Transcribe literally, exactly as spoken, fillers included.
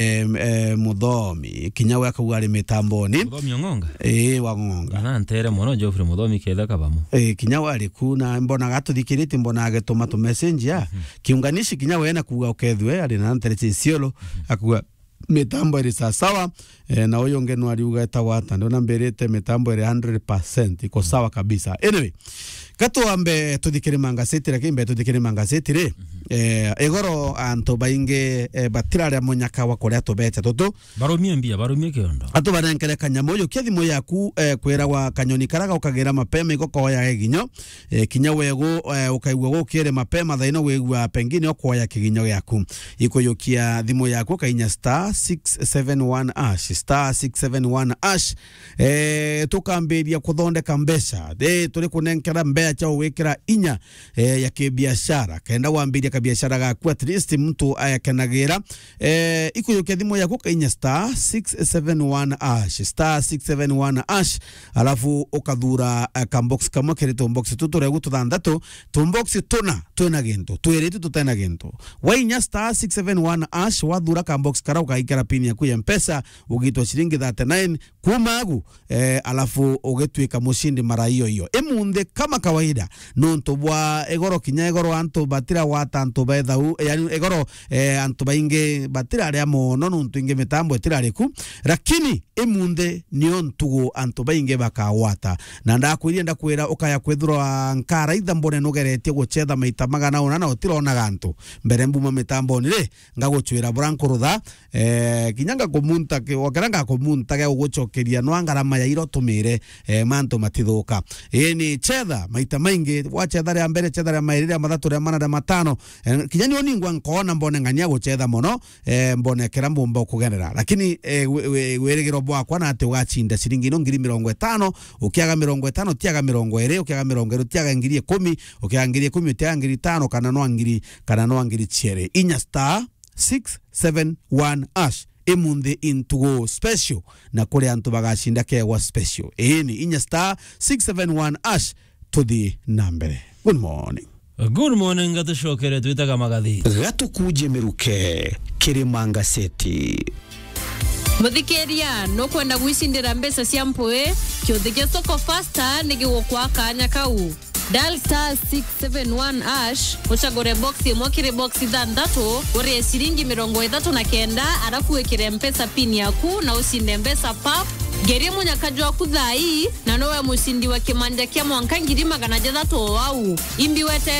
eh, eh, Muthomi. Kinya we akauga ari mitamboni. Muthomi Ong'onga? Ii, wa Ng'onga. Na ntere mono Geoffrey Muthomi ketha kabamo. Ii, kinya we ari ku na mbonaga atuthikiritie, mbonaga agituma tu message ya. Mhm. Kiunganishi kinya we na kuuga ukethue, ari na ntere cia Isiolo, akuuga mitambo iri sawasawa, eh, na uyu ungi no ariuga etagwa ata, ndona mbirite mitambo iri hundred percent, iko sawa kabisa. Anyway, ka twambe tuthikire mangaceti, lakini mbere tuthikire mangaceti ri, eh, igoro antu baingi, eh, batiraria munyaka wa kuria tubete tutu. Barumie mbia, barumie kiondo. Atu banenkere kanyamu, yukia thimu yaku, eh, kwiragwa kanyoni kara gaukagira mapema igo koya eginyo, eh, kinya wegu, eh, ukaigua gukire mapema thaino wigua pengine okwoya kiginyo giaku. Ikuyukia thimu yaku, kainya star six seven one hash, star six seven one hash. Eh, tukambiria kuthondeka mbeca. Eh, turi kunenkera mbeca cia gwikira inya, eh, ya kibiashara. Kenda wambiria kabiashara gaku, at least mtu ayakenagira. Eh, ikuyukia thimu yaku, kainya star six seven one hash, star six seven one hash. Alafu ukathura, eh, kambox kamwe kiri tumbox tu turegu tuthanthatu, tumbox tuna twina gintu, twiri tu tutena gintu. Wainya star six seven one hash, wathura kambox kara ukaikira pin yaku ya Mpesa, ugitwa ciringi thirty-nine kuma agu, eh, alafu ugituika mushindi mara iyo iyo. Imunthi kama kawaida, nontu bwa igoro kinya igoro antu batira gwata antu bethau, yani igoro, eh, antu baingi batiraria mono nontu ingi mitambo itiraria ku, lakini imunthi nio ntugu antu baingi bakagwata. Na ndakwirie ndakwira ukaya kwithirwa nkaraitha mbone nugeretie gucetha maita magana una na utironaga antu. Mbere mbuma mitamboni ri, ngagucwira bura nkurutha, eh, kinya ngakumunta ki-, okera ngakumunta gia gugucokeria nwa ngarama ya ira utumire, eh, mantu matithuka. Ii ni cetha maita maingi, wacetha ria mbere, cetha ria mairi, ria mathatu, ria mana, ria matano, eh, kinya nio ningwa nkoona mbone ng'ania gucetha mono, eh, mbone kira mbumba ukugenera. Lakini, eh, wi-, wi-, wirigiro bwakwa na ati ugacinda ciringi ino ngiri mirongo itano, ukiaga mirongo itano, utiaga mirongo iri, ukiaga mirongo iri, utiaga ngiri ikumi, ukiaga ngiri ikumi, utiaga ngiri itano, kana nwa ngiri, kana nwa ngiri cieri. Inya star six seven one hash. Imunthi intugu special, na kuri antu bagacinda kegwa special. Iini, inya star six seven one hash, tuthi na mbere. Good morning. Good morning, gatucokere twitaga magathi. Gatukuje miruke, kiri Mangaceti. Muthikiria, nukwenda gwicindira mbeca cia mpui? Kiuthi kia Soko Fasta ni gigukwa kanya kau. Dial star six seven one hash, ucagure box imwe kiri box ithanthatu, urie ciringi mirongo ithatu na kenda, arafu wikire Mpesa pin yaku na ucinde mbeca pap. Ngerie munyaka jwaku thaa ii, na nowe mucindi wa kimanja kia mwanka ngiri magana jathatu o au. Imbi wete